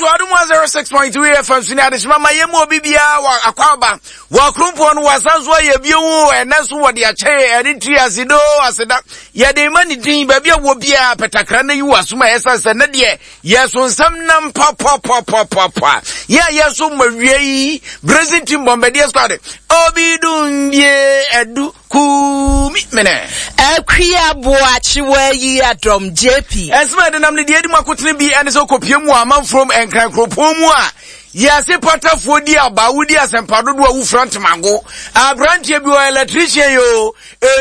to Adom 106.3 FM so ne adehyema ma yɛmu obi biara wɔ akwaaba wɔ akurumpɔn no wɔasan so ayɛ bio ɛnɛ nso wɔde akyɛ ɛne tiri asedo aseda yɛde ma ne din baabi a wɔ biara pɛtakra na yi wɔ asom a ɛsan sɛ ne deɛ yɛso nsɛm nam papapapapapa yɛ a yɛso ma wie yi Brazil team bɔmbɛdeɛ squad obi dum bie ɛdu Kumi mene. Akua Boakye Wayi Adom JP. Nsɛm a ɛdenam ne deɛ adi mu akotene bi ɛne sɛ wokɔpie mu wɔ amanfurom Nkran kuropɔn mu a yɛase patafoɔ di aba wodi asɛmpa dodoɔ a wofira ntemago aberanteɛ bi wɔ electrician yoo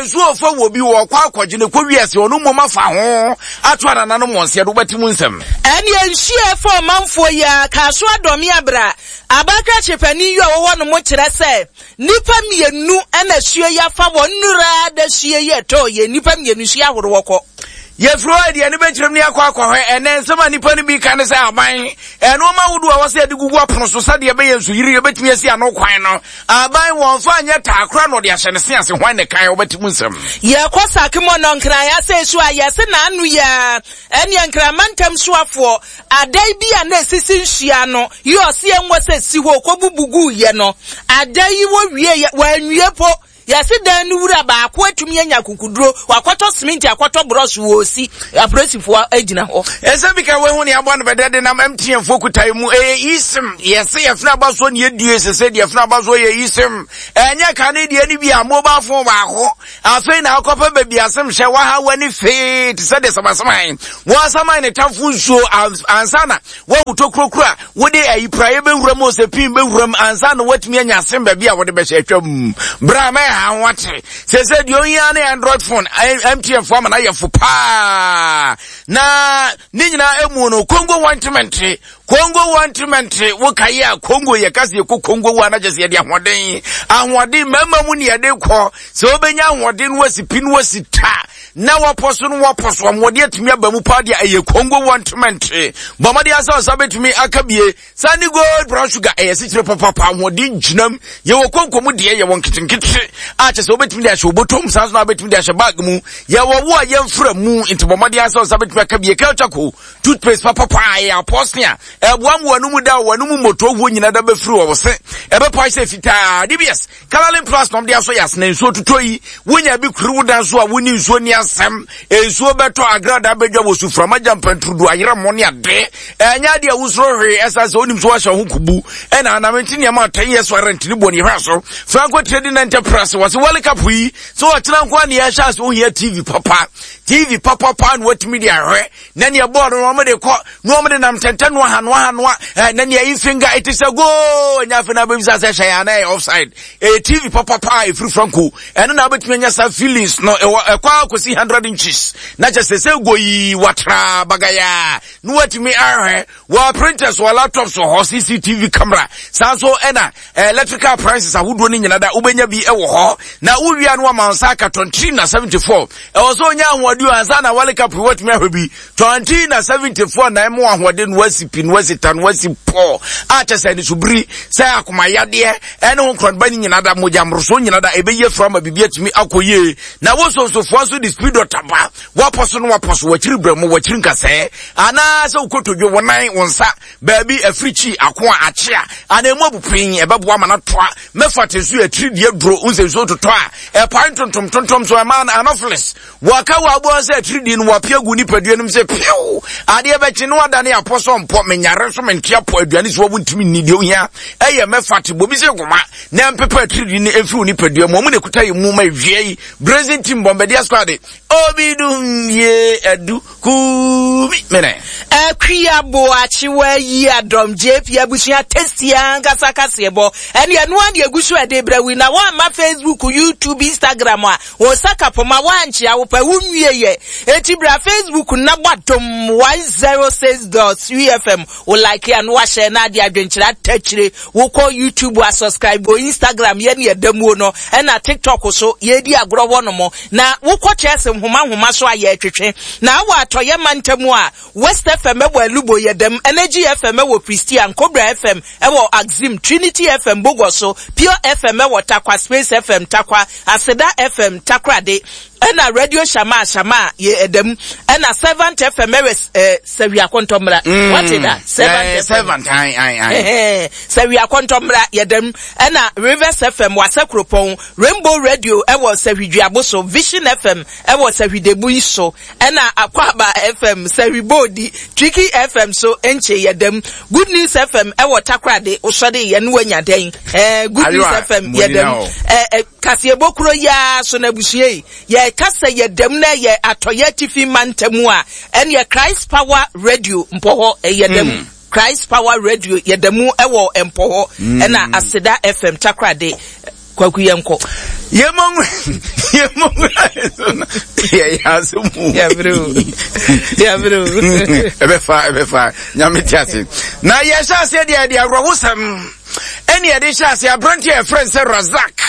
nsuo ɔfa wɔ bi wɔ ɔkɔ akɔgye ne kɔ wiase ɔno mmom afa ho ato anananom wɔn seɛ do wobɛte mu nsɛm. Ɛneɛ nsuo ɛfa ɔmanfoɔ yi a Kaso Adɔme Abra abakrakye panin yi a ɔwɔ hɔ nom kyerɛ sɛ Nnipa mmienu na asuo yi afa wɔn nnura da suo yi ɛtɔɔ yɛ nnipa mmienu nsuo ahoroɔ kɔ. Yɛfiri hɔ deɛ no bɛkyerɛm ne akɔ akɔhwɛ ɛnɛ nsɛm a nnipa no bi ka ne sɛ aban nnoɔma ahodoɔ a wɔsɛ yɛde gugu apono so sɛdeɛ ɛbɛyɛ nsuyiri yɛbɛtumi asi ano kwan no aban wɔmfa nyɛ taa koraa na ɔde ahyɛ ne se ase hwan ne kan wobɛte mu nsɛm. Yɛkɔ Sakimo Nɔnkran asɛ so a yɛse n'ano yɛ ɛneɛ Nkran mantam soafoɔ Adan bi a na esisi nsuo ano yi ɔse ɛnwɔ sɛ si hɔ ɔkɔbubu guiɛ no, adan yi wɔwieɛ, wɔanwie po. Yɛse dan no wura baako atumi anya akukuduro, wakɔtɔ seminti akɔtɔ brɔs wɔresi, apolisifoɔ agyina hɔ. Ɛsɛ bi ka wehu ne aboa no bɛdɛ de nam MTN foɔ kutae mu ɛyɛ eSIM yɛse yɛfena aba soɔ ne yɛdue sese deɛ fena aba soɔ yɛ eSIM ɛnyɛ kane deɛ ne bi a mobile phone baako Afei na akɔpɛ baabi asɛm hyɛ waha w'ani fee te sɛ deɛ samasaman wɔasaman ne tamfo nsuo ansa na woawu tokurokuro a wode ayi praeɛ bɛwura mu sɛ pin bɛwura mu ansa na woatumi anya asɛm baabi a wode bɛhyɛ atwam berɛ a mɛha ho ate sɛ sɛ deɛ ohia ne android phone mtn fo ama no ayɛ fo paa na ne nyinaa emu no kongo wantemente Kongo wɔntrementre wo kae a Kongo yɛ kasa yɛkɔ Kongo wo anagyɛ sɛ yɛde ahoɔden ahoɔden mmarima mu ne yɛde kɔ sɛ wobɛnya ahoɔden no wasi pi no wasi ta na wɔpɔ so no wɔpɔ so ahoɔden atumi aba mu paa deɛ ɛyɛ Kongo wɔntrementre bɔ mmɔden asɛ ɔsa bɛtumi aka bie saa ne gold brown sugar ɛyɛ sikyire papapa ahoɔden gyinam yɛwɔ konko mu deɛ yɛwɔ nketenkete a kyɛ sɛ wobɛtumi de ahyɛ obotom saa nso na wobɛtumi de ahyɛ bag mu yɛwɔ wo a yɛmfra mu nti bɔ mmɔden asɛ ɔsa bɛtumi aka bie kelchako Toothpaste papa paa ɛyɛ apɔse a ɛboa ma w'anum da w'anum mmɔtɔ wuo nyina da bɛfiri wɔ wo se ɛbɛpae sɛ fitaa. DBS Coloring Plus na ɔmde asɔ yɛ asena nsuo totɔ yi wonya bi kuri wo dan so a wonni nsuo ni asɛm nsuo bɛtɔ agrada bɛdwa wɔ suframa gya mpanturudu ayerɛ mmɔ ne ade ɛnyɛ adeɛ a wosoro hwee ɛsan sɛ wonim so wahyɛ ho kubu ɛna anam nti nneɛma a 10 years warranty ne bɔ ne hwɛ so Franco Trading Enterprise wɔ se World Cup yi sɛ ɔkyena nko a ne yɛhyɛ ase wohia TV papa TV papa paa na watumi de ahwɛ na nea bɔɔl no wɔn de kɔ na wɔn de nam tɛntɛn noa ha noa ha noa ɛɛ na nea yi finger it is a goal nya afei na abɛbisa sɛ hyɛ yɛn anan offside ɛyɛ tv papapa a efiri franco ɛno na abɛtumi anya saa feelings no ɛwɔ ɛkɔ akɔsi hundred inches na kyɛ sɛ sɛ go yi watra bagaya na watumi ahwɛ wɔ printers wɔ laptops wɔ hɔ cctv camera saa nso ɛna electrical appliances ahodoɔ no nyina da wobɛnya bi wɔ hɔ na wowia no ama nsa aka 23 na 74 ɛwɔ sɛ onya ahoɔden ansa na wale kapri watumi ahwɛ bi 20 na 74 na ɛmo ahoɔden no wasi pi no wasi ta no wasi pɔ a kyɛ sɛ anisobiri sɛ akomayadeɛ ɛne ho nkorɔnba no nyina da mogya mmorosoɔ nyina da ɛbɛyi afiri ama biribi atumi akɔ yie na wo sonsofoɔ nso de speed ɔtaba wapɔ so no wapɔ so wakyiri brɛ mu wakyiri nkasɛɛ anaasɛ wokotodwe wo nan wo nsa baabi afirikyi ako a akye a anaa emu abupin ɛbɛboa ma no atoa mɛfa te nso yɛ tiri deɛ duro nsɛ nsuo totɔ a ɛpae ntontom tontom so ɛma anopheles wɔaka wɔ aboa sɛ atiridii no wɔapia gu nipadua no mu sɛ piw adeɛ bɛkye no adane apɔ sɛ mpɔ menyare nso mente apɔ aduane so wɔn ntumi nni deɛ ohia ɛyɛ mɛfa te bobi sɛ goma na mpepa atiridii no mfiri wo nipadua mu ɔmo na ekuta yɛ mu ma ewia yi brazen team bɔmbɛdeɛ squad obi dum yie adu Kumi mene. Akua Boakye wayi adɔm JP abusua tasty ankasa kaseɛbɔ ɛne ɛno ara na egu so ɛde brɛ wo yi na woamma Facebook, YouTube, Instagram a wo nsa ka poma woankyea wo pɛ wo nwie yɛ eti bra Facebook na bɔ adom 106.3 FM wo like a na wahyɛ na ade adwenkyerɛ atakyire Wokɔ YouTube a subscribe wɔ Instagram yɛ ne ɛda muo no ɛna TikTok so yɛredi agorɔ hɔ nom na wokɔ Chelsea nhoma nhoma so a yɛretwetwe na wɔ atɔyɛ mantam a West FM ɛwɔ Alubo yɛdam Energy FM ɛwɔ Prestea Nkobra FM ɛwɔ Axim Trinity FM Bogoso Pure FM ɛwɔ Tarkwa Space FM Tarkwa Aseda FM Takoradi. Ɛna Radio Shama Shama yɛ ɛda mu. Ɛna Servant FM ɛwɛ ɛɛ Sɛwi Akɔntɔmmra. Mm. Wate da? Servant FM. Servant ayi ayi ayi. Sɛwi Akɔntɔmmra yɛ da mu. Ɛna Rivers FM Wasa Kuropɔn. Rainbow Radio ɛwɔ Sɛwi Duaboso. Vision FM ɛwɔ Sɛwi Debu so. Ɛna Akwaaba FM Sɛwi Boodi. Tricky FM so nkye yɛ da mu. Good News FM ɛwɔ Takoradi. Wosɔre yɛ no wanya dɛn? Ɛɛ Good News FM yɛ da mu. Ɛɛ Kaseɛbɔ kuro yi ara so no abusua yi, yɛka sɛ yɛda mu na ɛyɛ atɔeɛ atifi mantam a, ɛneɛ Christ Power Radio Mpɔhɔ yɛda mu. Christ Power Radio yɛda mu wɔ Mpɔhɔ, ɛna Aseda FM Takoradi. Kwaku yɛnkɔ. Yɛmɔ yɛmɔ yɛyɛ ase mu. Yɛbrɛ o. Yɛbrɛ o. Ɛbɛfa ɛbɛfa nyame te ase. Na yɛhyɛ aseɛ deɛ ɛde awerɛhosɛm. Ɛne ɛde hyɛ ase aberante a yɛfrɛ no sɛ Razak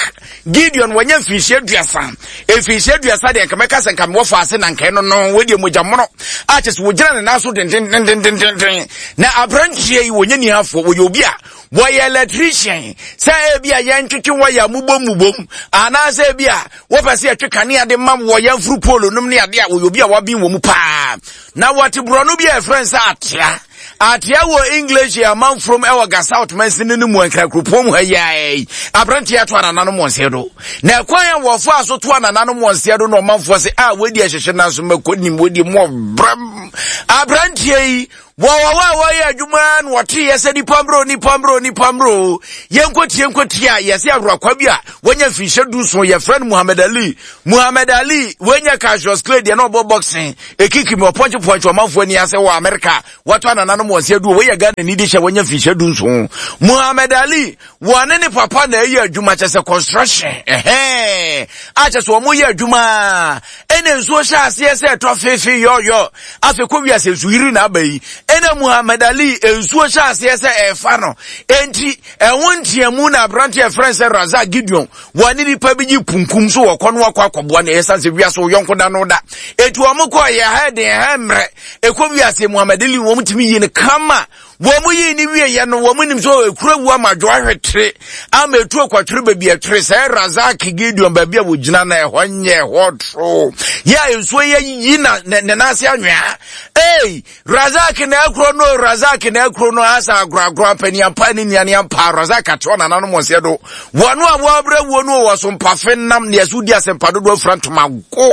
Gideon wanya mfirihyia aduasa mfirihyia aduasa deɛ nka mɛka sɛ nka mewɔ faase na nka ɛno no wɔdeɛ mogya mono a kyɛ sɛ wɔgyina ne nan so dendendendendenden na aberanteɛ yi wɔnyɛ nihafoɔ wɔyɛ obi a wɔyɛ electrician sɛ ebi a yɛntwetwe wɔyɛ a mobom mobom anaasɛ ebi a wɔpɛ sɛ yɛtwe kanea de ma wɔ yɛn furu polo nom ne adeɛ a wɔyɛ obi a waben wɔ mu paa na wɔte borɔno bi a yɛfrɛ no sɛ atea Atea wɔ English yɛ amanfurom ɛwɔ Ga South mansini no mu Ankara kuropɔn mu ha yi ara yi. Aberanteɛ ato anananom wɔn nseɛ do. Na ɛkwan a wɔfaa so to anananom wɔn nseɛ do na ɔmanfoɔ se a wɔadi ahyɛhyɛ nanso mako nim wɔdi mu ɔbrɛm. Aberanteɛ yi wɔwɔ hɔ a wɔyɛ adwuma na wɔteeɛ sɛ nipa mmerɛ nipa mmerɛ nipa mmerɛ yɛnkɔtie nkɔtie a yɛse aworakwa bi a wɔanya mfinhyɛ du nson yɛfrɛ no Muhammad Ali. Muhammad Ali wɔanya Cassius Clay deɛ na ɔbɔ boxing Ekiki mi ɔpɔnkye pɔnkye ɔmanfoɔ ani ase wɔ Amerika wɔtɔ anananom wɔn nsa du wɔyɛ Ghana ni de hyɛ wɔnya mfinhyia du nson Muhammad Ali wɔne ne papa na ɛyɛ adwuma kyɛ sɛ construction ɛhɛn a kyɛ sɛ wɔn yɛ adwuma ɛna nsuo hyɛ aseɛ sɛ ɛtɔ fefe yɔyɔ afei kɔ wiase nsu yiri na aba yi ɛna Muhammad Ali nsuo hyɛ aseɛ sɛ ɛfa no enti ɛho nteamu na aberante ɛfrɛ sɛ Razak Gideon Wɔne nipa bi gye kunkum so wɔkɔ no akɔ akɔboa no ɛsan sɛ wiase wo yɔnko da no da eti wɔn kɔ yɛ ha den ha mmerɛ ɛkɔ wiase Muhammad Ali wɔn tumi yi no kama wɔn yi ne wie yɛ no wɔn nim sɛ ekura wu ama dwo ahwetere ama etu akwatwere baabi ɛtwere sɛ Razak Gideon baabi a wɔgyina na ɛhɔ nyɛ ɛhɔ toro yɛ a nsuo yɛ yi na ne nan ase anwea ee Razak na akuro no Razak na akuro no asa agoragora mpani ampa ne nnuane ampa Razak ate ɔnananom ɔseɛ do wɔn a wɔabrɛ wuo no wɔ so mpafe nam ne ɛso di asɛmpa dodoɔ afira ntoma go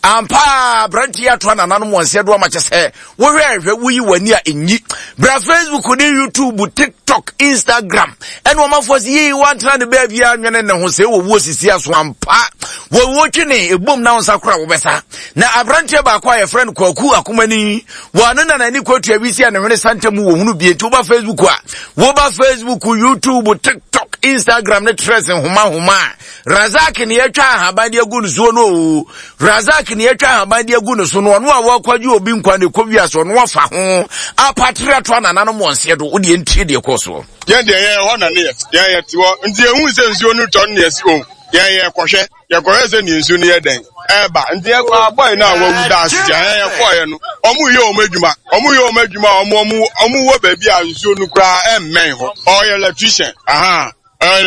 ampa aberanteɛ ato anananom ɔseɛ do ama kyɛ sɛ wohwɛ ɛhwɛ woyi w'ani a ɛnyi bra Facebook ne YouTube TikTok Instagram ɛne ɔmafoɔ sɛ yei wantena ne baabi a nwene ne ho sɛ wɔwuo sisi aso ampa wɔwuo twene ɛbom na wo nsa kora wobɛsa Na aberanteɛ baako a yɛfrɛ no Kwaku Akomani, wɔne na n'ani kɔtua wisi a ne hwene santa mu wɔ hunu bie. Nti woba Facebook a, woba Facebook, YouTube, TikTok, Instagram ne Threads nhoma nhoma a, Razak ne yɛatwa ahaban de agu no soɔ no o. Razak ne yɛatwa ahaban de agu no so no, ɔno a wɔakɔgye obi nkwa ne kɔ wiase ɔno afa ho apatere ato anananom wɔn seɛ do. Wodeɛ ntie deɛ kɔɔ soɔ. Yɛn deɛ yɛn hɔ na ne yɛ yɛn yɛ te hɔ nti yɛn hu sɛ nsuo no tɔ no na yɛsi o yɛn yɛ kɔhwɛ. Yɛkɔhwɛ sɛ nea nsuo no yɛ dɛn ɛreba nti yɛkɔ abɔe no a wawu da ase kyɛ yɛn yɛkɔɔyɛ no wɔn yɛ wɔn adwuma wɔn yɛ wɔn adwuma a wɔn wɔn wɔn wɔ baabi a nsuo no koraa ɛmmɛn hɔ ɔyɛ electrician aha.